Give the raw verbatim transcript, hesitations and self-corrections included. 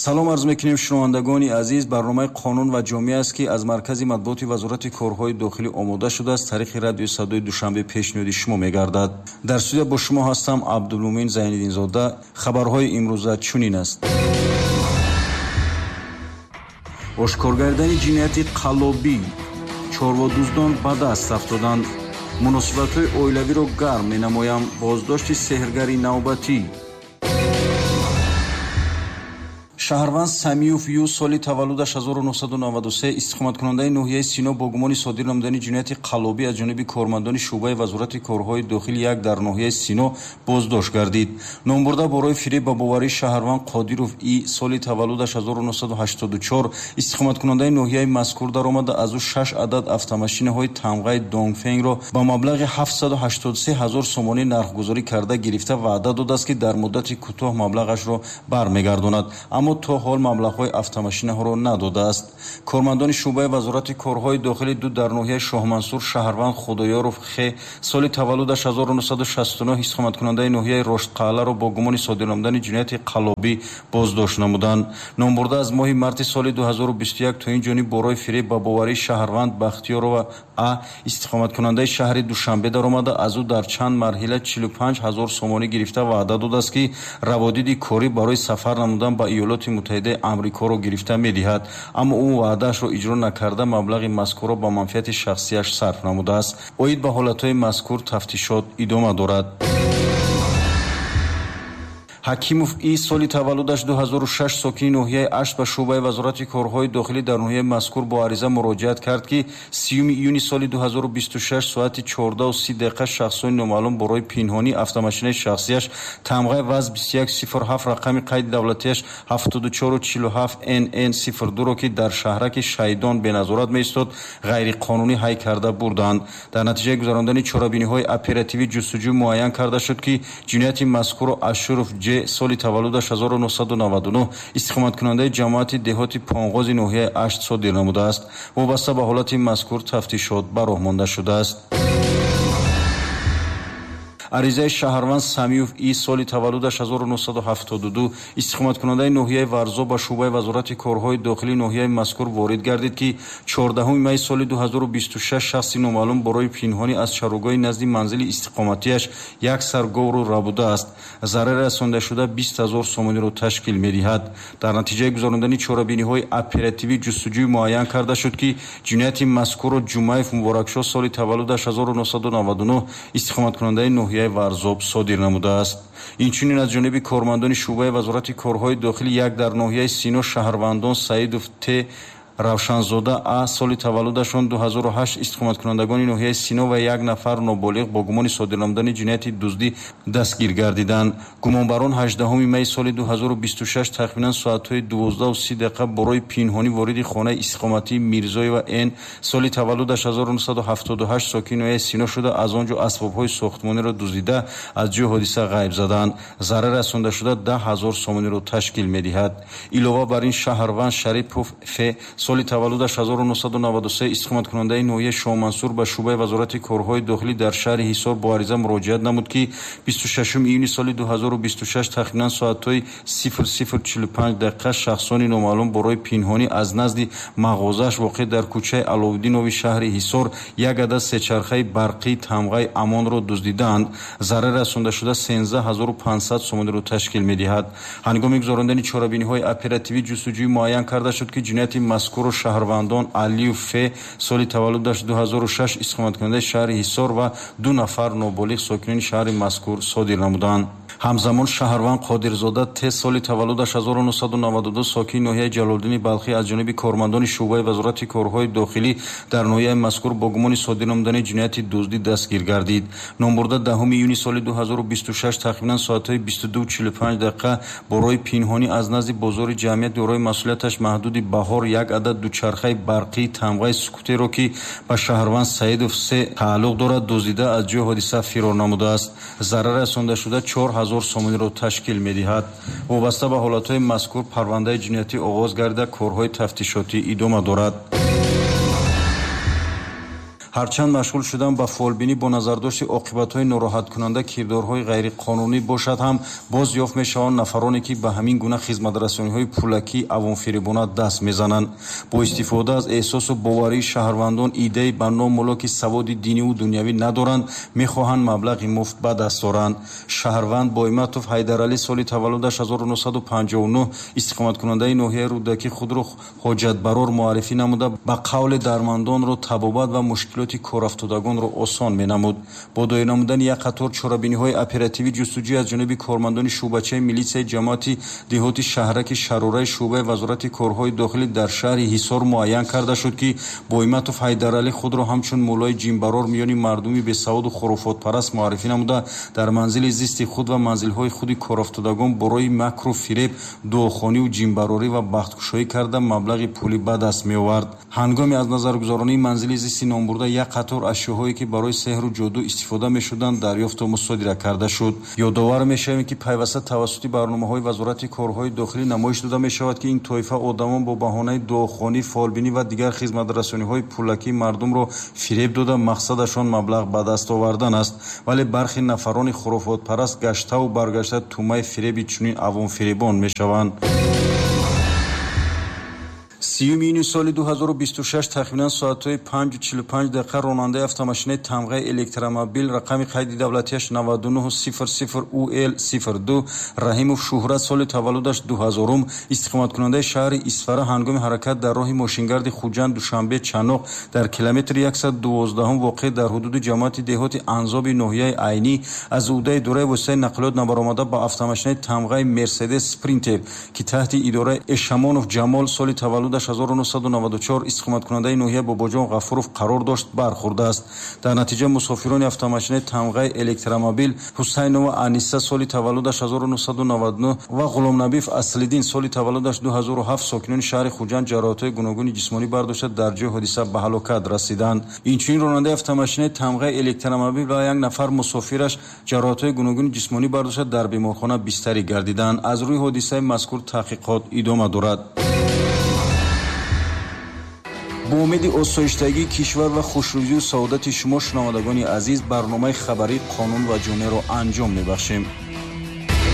Салом арз мекунем шунавандагони азиз. Барномаи «Қонун ва ҷомеа» аст, ки аз маркази матбуоти Вазорати корҳои дохилӣ омода шудааст, тариқи радиои Садои Душанбе пешниҳоди шумо мегардад. Дар студия бо шумо ҳастам Абдулмумин Зайниддинзода. Хабарҳои имрӯза чунин аст. Ошкор гардани ҷинояти қаллобӣ, чорводуздон ба даст афтоданд. Муносибатҳои оилавиро гарм менамоям. Боздошти сеҳргари навбатӣ. Шаҳрванд Самиюв Ю соли таваллудаш ҳазору нӯҳсаду наваду се, истиқоматкунандаи ноҳияи Сино бо гумони содир намудани ҷинояти қаллобӣ аз ҷониби кормандони шӯъбаи Вазорати корҳои дохили як дар ноҳияи Сино боздошт гардид. Номбурда барои фиреб ба боварии шаҳрванд Қодиров И соли таваллудаш ҳазору нӯҳсаду ҳаштоду чор, истиқоматкунандаи ноҳияи мазкур даромада, аз ӯ шаш адад автомашинаҳои тамғаи Донгфенгро ба маблағи ҳафтсаду ҳаштоду се ҳазор сомонӣ нархгузорӣ карда гирифта ваъда додааст, ки дар муддати кӯтоҳ маблағашро бармегардонад, аммо то ҳол маблағҳои автомашинаҳоро надодааст. Кормандони шӯъбаи Вазорати корҳои дохили ду дар ноҳияи Шоҳмансур шаҳрванд Худоёров Х соли таваллудаш ҳазору нӯҳсаду шасту нӯҳ, истиқоматкунандаи ноҳияи Роштқалъаро бо гумони содир намудани ҷинояти қаллобӣ боздошт намуданд. Номбурда аз моҳи марти соли ду ҳазору бисту як то ин ҷониб барои фиреб ба боварии шаҳрванд Бахтиёрова А истиқоматкунандаи шаҳри Душанбе даромада, аз ӯ дар чанд марҳила чилу панҷ ҳазор сомонӣ гирифта ваъда додааст, ки раводиди корӣ барои сафар намудан ба Иёлоти Муттаҳидаи Амрикоро гирифта медиҳад, аммо ӯ ваъдаашро иҷро накарда маблағи мазкурро ба манфиати шахсияш сарф намудааст. Оид ба ҳолатҳои мазкур тафтишот идома дорад. Ҳакимов И соли таваллудаш ду ҳазору шаш, сокини ноҳияи Ашт ба шӯъбаи Вазорати корҳои дохилӣ дар ноҳияи мазкур бо ариза муроҷиат кард, ки сиюми июни соли ду ҳазору бисту шаш соати чордаҳу си дақиқа шахсони номаълум барои пинҳонии автомашинаи шахсияш тамғаи ВАЗ бисту як сифр ҳафт, рақами қайди давлатияш ҳафтоду чору чилу ҳафт эн эн сифр дуро, ки дар шаҳраки Шайдон беназорат меистод, ғайриқонунӣ ҳай карда бурданд. Дар натиҷаи гузарондани чорабиниҳои оперативӣ ҷустуҷӯ муайян карда шуд, ки ҷинояти мазкурро Ашуров Ҷ соли таваллудаш ҳазору нӯҳсаду наваду нӯҳ, истиқоматкунандаи ҷамоати деҳоти Понғози ноҳияи Ашт содир намудааст. Вобаста ба ҳолати мазкур тафтишот ба роҳ монда шудааст. Аризаи шаҳрванд Самиюв И соли таваллудаш ҳазору нӯҳсаду ҳафтоду ду, истиқоматкунандаи ноҳияи Варзоб ба шӯъбаи Вазорати корҳои дохилии ноҳияи мазкур ворид гардид, ки чордаҳуми май соли ду ҳазору бисту шаш шахси номаълум барои пинҳонӣ аз чарогоҳи назди манзили истиқоматиаш як сар говро рабудааст. Зарари расондашуда бист ҳазор сомониро ташкил медиҳад. Дар натиҷаи гузарондани чорабиниҳои оперативӣ ҷустуҷӯй муайян карда шуд, ки ҷинояти мазкурро Ҷумаев Муборакшоҳ соли таваллудаш ҳазору нӯҳсаду наваду нӯҳ, истиқоматкунандаи ноҳияи Варзоб содир намудааст. Инчунин аз ҷониби кормандони шӯъбаи Вазорати корҳои дохили як дар ноҳияи Сино шаҳрвандон Саидов Т Равшанзода А соли таваллудашон ду ҳазору ҳашт, истиқоматкунандагони ноҳияи Сино ва як нафар ноболиғ бо гумони содир намудани ҷинояти дуздӣ дастгир гардиданд. Гумонбарон ҳаждаҳуми май соли ду ҳазору бисту шаш тахминан соатҳои дувоздаҳу си дақиқа барои пинҳонӣ вориди хонаи истиқоматии Мирзоева Н соли таваллудаш ҳазору нӯҳсаду ҳафтоду ҳашт, сокини ноҳияи Сино шуда, аз он ҷо асбобҳои сохтмониро дуздида аз ҷои ҳодиса ғайб заданд. Зарар расондашуда даҳ ҳазор сомониро ташкил медиҳад. Илова бар ин шаҳрванд Шарипов Ф соли таваллудаш ҳазору нӯҳсаду наваду се, истиқоматкунандаи ноҳияи Шоҳмансур ба шӯъбаи Вазорати корҳои дохилӣ дар шаҳри Ҳисор бо ариза муроҷиат намуд, ки бисту шашуми июни соли ду ҳазору бисту шаш тахминан соатҳои сифр сифр чилу панҷ дақиқа шахсони номаълум барои пинҳонӣ аз назди мағозааш воқеъ дар кӯчаи Аловуддинови шаҳри Ҳисор як адад сечархаи барқии тамғаи Амонро дуздидаанд. Зарар расондашуда сенздаҳ ҳазору панҷсад сомониро ташкил медиҳад. Ҳангоми гузарондани чорабиниҳои оперативӣ ҷустуҷӯй муайян карда шуд, ки ҷинояти мазкурро шаҳрвандон Алиев Ф соли таваллудаш ду ҳазору шаш, истиқоматкунандаи шаҳри Ҳисор ва ду нафар ноболиғ сокинони шаҳри мазкур содир намуданд. Ҳамзамон шаҳрванд Қодирзода Т соли таваллудаш ҳазору нӯҳсаду наваду ду, сокини ноҳияи Ҷалолиддини Балхӣ аз ҷониби кормандони шӯъбаи Вазорати корҳои дохилӣ дар ноҳияи мазкур бо гумони содир намудани ҷинояти дуздӣ дастгир гардид. Номбурда даҳуми июни соли ду ҳазору бисту шаш тахминан соатҳои бисту ду чилу панҷ дақиқа барои пинҳонӣ аз назди бозори ҷамъият дорои масъулияташ маҳдуди Баҳор як адад дучархаи барқии тамғаи скутерро, ки ба шаҳрванд Саидов С тааллуқ дорад, дуздида аз ҷои ҳодиса фирор намудааст. Зарар расондашуда чор ҳазор сомониро ташкил медиҳад. Вобаста ба ҳолатҳои мазкур парвандаи ҷиноятӣ оғоз гардида, корҳои тафтишотӣ идома дорад. Ҳарчанд машғул шудан ба фолбинӣ бо назардошти оқибатҳои нороҳаткунанда кирдорҳои ғайриқонунӣ бошад ҳам, боз ёфт мешаванд нафароне, ки ба ҳамин гуна хизматрасониҳои пулакӣ авомфиребона даст мезананд. Бо истифода аз эҳсосу боварии шаҳрвандон идеи ба номулло, ки саводи диниву дунявӣ надоранд, мехоҳанд маблағи муфт ба даст оранд. Шаҳрванд Бойматов Ҳайдаралӣ соли таваллудаш ҳазору нӯҳсаду панҷоҳу нӯҳ, истиқоматкунандаи ноҳияи Рӯдакӣ, худро ҳоҷатбарор муаррифӣ намуда, ба қавли дармандонро табобат ва мушкилоти корафтодагонро осон менамуд. Бо доир намудани як қатор чорабиниҳои оперативӣ ҷустуҷӯй аз ҷониби кормандони шӯъбачаи милитсияи ҷамоати деҳоти шаҳраки Шарораи шӯъбаи Вазорати корҳои дохилӣ дар шаҳри Ҳисор муайян карда шуд, ки Бойматов Ҳайдаралӣ худро ҳамчун муллои ҷинбарор миёни мардуми бесаводу хурофотпараст муаррифӣ намуда, дар манзили зисти худ ва манзилҳои худи корафтодагон бо роҳи макру фиреб, дуохониву ҷинбарорӣ ва бахткушоӣ карда маблағи пулӣ ба даст меовард. Ҳангоми аз назаргузаронии манзили зисти номбурда як қатор ашёҳое, ки барои сеҳру ҷоду истифода мешуданд, дарёфту мусодира карда шуд. Ёдовар мешавем, ки пайваста тавассути барномаҳои Вазорати корҳои дохилӣ намоиш дода мешавад, ки ин тоифа одамон бо баҳонаи дуохонӣ, фолбинӣ ва дигар хизматрасониҳои пулакӣ мардумро фиреб дода, мақсадашон маблағ ба даст овардан аст. Вале бархи нафарони хурофотпараст гаштаву баргашта тӯъмаи фиреби чунин авомфиребон мешаванд. Сиюми июни соли ду ҳазору бисту шаш тахминан соатҳои панҷу чилу панҷ дақиқа ронандаи автомошинаи тамғаи электромобил рақами қайди давлатияш наваду нӯҳ сифр сифр У Л сифр ду Раҳимов Шуҳрат соли таваллудаш ду ҳазорум, истиқоматкунандаи шаҳри Исфара, ҳангоми ҳаракат дар роҳи мошингарди Хуҷанд Душанбе Чаноқ дар километри яксаду дувоздаҳум воқеъ дар ҳудуди ҷамоати деҳоти Анзоби ноҳияи Айнӣ аз ӯҳдаи дураи воситаи нақлиёт набаромада ба автомошинаи тамғаи Мерседес Спринтер, ки таҳти идораи Эшамонов Ҷамол соли таваллудаш ҳазору нӯҳсаду наваду чор, истиқоматкунандаи ноҳияи Бобоҷон Ғафуров қарор дошт, бархӯрдааст. Дар натиҷа мусофирони автомошинаи тамғаи электромобил Ҳусайнова Аниса соли таваллудаш ҳазору нӯҳсаду наваду нӯҳ ва Ғуломнабиев Аслиддин соли таваллудаш ду ҳазору ҳафт, сокинони шаҳри Хуҷанд, ҷароҳатҳои гуногуни ҷисмонӣ бардошта дар ҷои ҳодиса ба ҳалокат расиданд. Инчунин ронандаи автомошинаи тамғаи электромобил ва як нафар мусофираш ҷароҳатҳои гуногуни ҷисмонӣ бардошта дар беморхона бистарӣ гардиданд. Аз рӯи ҳодисаи мазкур таҳқиқот идома дорад. Бо умеди осоиштагии кишвар ва хушрӯзию саодати шумо, шунавандагони азиз, барномаи хабарии «Қонун ва ҷомеаро анҷом мебахшем.